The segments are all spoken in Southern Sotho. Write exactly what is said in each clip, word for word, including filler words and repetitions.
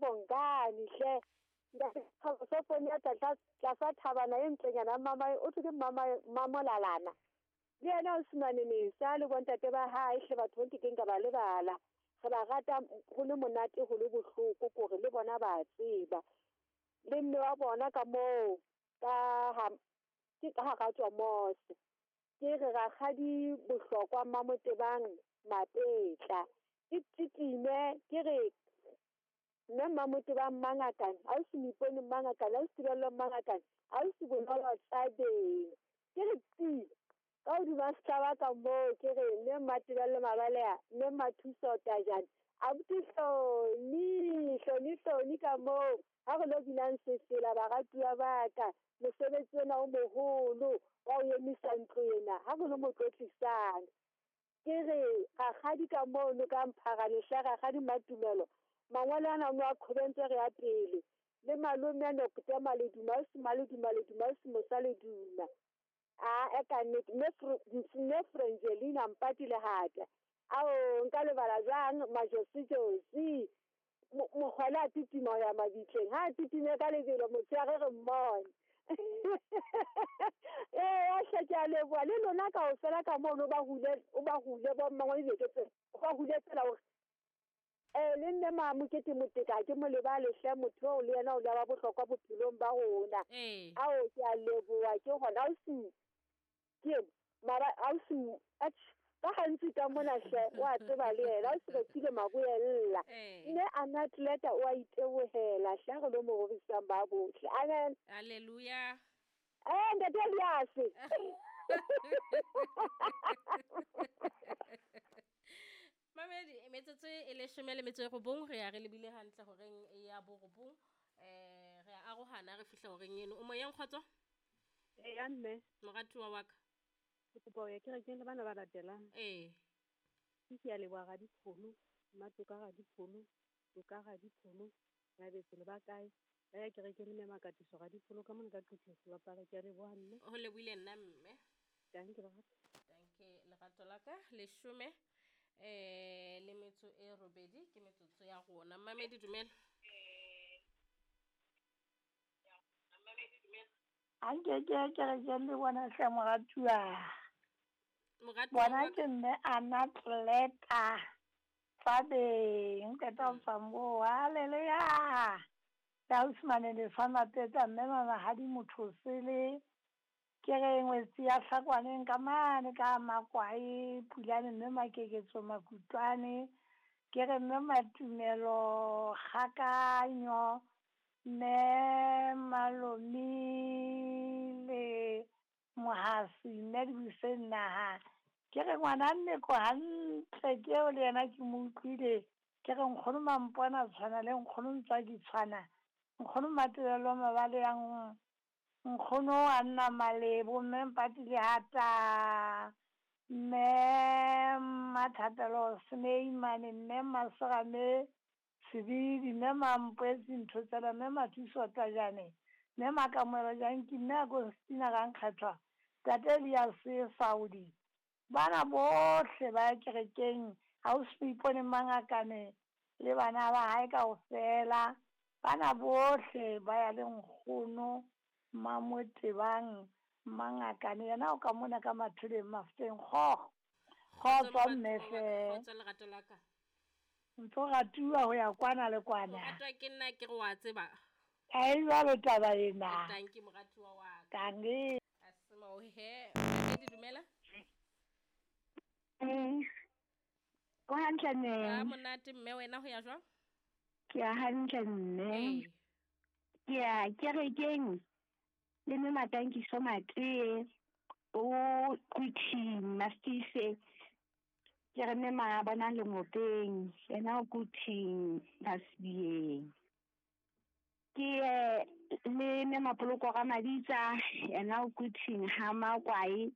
Mabongane hle ntate Sofonia tlasa thabana e ntlenyana mama o thwe ke mama Mamolalana le yena o simane mesa le bontate ba hae hle batho ba nkekeng ka ba lebala re ba rata go le monate go le bohloko kore le bona ba tseba le mme wa bona ka moo ka ha ke ka hara tswa mose ke re rakgadi Bohlokwa Mmamotebang Mapetla ke titime ke re mme Mmamotebang Mangakane a o se Moipone Mangakane a o se Tebello Mangakane a o se Bonolo Tsabeng ke re ti ka hodima sehlaba ka moo ke re mme Mmatebello Mabalea mme Mathuso Tajane abuti Hloni Hloni Hloni ka moo ha re lo binang sefela baratuwa ba ka mosebetsi ona o moholo wa o emisa ntlo ena ha re lo mo tlotlisang ke re rakgadi ka mono ka Mpharane hle rakgadi Matumelo mangolo ana o a qhobentse re ya pele le malome a Nokute Maleduma o se Maleduma Leduma o se Mosa Leduma a e ka nnete mme Frangelina Mpati Lehata ao nka lebala jwang Majosi-Josi mokgwele a titima ho ya mabitleng ha a titime ka lebelo motshehare re mmone ee hle ke a leboha le lona kaofela ka mono o ba hule o ba hule bo mmangwane dibeke tse o ba hule tsela hore eh le nne Mamokete Moteka ke mo lebale hle motho oo le yena o le wa bohlokwa bophelong ba rona ao ke a leboha ke hona o se ke mara ausi ka gantsi ka mona hle wa tseba le yena o se re maboella mme Anatleta o a itebohela hle re lo mo rorisang ba bohle amen hallelujah eh ntate Elias Mamedi metsotso e leshome le metso e robong re ya re lebile hantle horeng ya borobong eh re a arohana re fihla horeng eno o moyeng kgotso eh ya mme moratuwa wa ka ke kopa ho ya kerekeng le bana ba latelang eh ke ke ya leboha Radipholo Mmatoka Radipholo Toka Radipholo Ngabetse le ba kae ba ya kerekeng le mme Makatiso Radipholo ka mona ka Quthe Sebapala ke ya leboha mme ho lebohile nna mme danke lerato danke lerato la ka leshome eh le metso e robedi ke metsotso ya rona Mamedi dumela eh Mamedi dumela anke ke kerekeng le bona hle moratuwa moratuwa bona ke mme Anatleta Tsabeng qeta ho tswa moo haleluya le ausi le fa Mapetla mme Mamahadi motho sele ke re ngwetsi ya Hlakwaneng ka mane ka Makwae Pulane mme Makeketso Makutlwane ke re mme Matumelo Kgakanyo mme Malomi le Mohasi mme Dibuseng naha ke re ngwana nneko hantle ke eo le yena ke mo utlwile ke re nkgono Mampona tshwana le nkgono Ntswaki tshwana nkgono Matelelo Mabale yang nkgono a nna Malebo mme Mpati Lehata mme Mathapelo Sneimane mme Maserame Sebidi mme Mampwetsi ntho tsela mme Mathuso Tajane mme Makamoelo Janki mme Agostina Rankgethwa tate Elias Saudi bana bohle ba ya kerekeng ha o se ipone Mangakane le bana ba hae kaofela bana bohle ba ya le nkgono Mamotebang Mangakane yena o ka mona ka Mathuleng Mafeteng kgo kgotso mme hle kgotso lerato la ka ntso ratuwa ho ya kwana le kwana ratwa ke nna ke re wa tseba ha e jwalo taba ena tanki moratuwa wa ka tanki asema he Mamedi dumela eh go hantle mme a monate mme wena ho ya jwang ke ya hantle mme ke ya kerekeng le mme Matankiso Matee o Quthing Mastise ke re mme Mabona Lengopeng yena o Quthing Basbieng ke le mme Mapoloko ga Maditsa yena o Quthing ha Makwae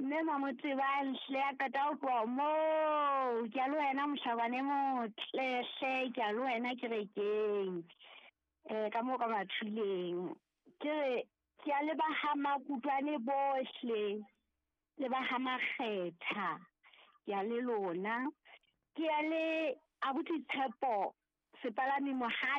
mme Mamotebang hle a qeta ho tloha moo ke a le wena mohlabane motle hle ke a le wena kerekeng eh ka moo ka Mathuleng ke re ke a le ba ha Makutlwane bohle le ba ha Makgetha ke a le lona ke a le abuti Tshepo sepalami Mohadi.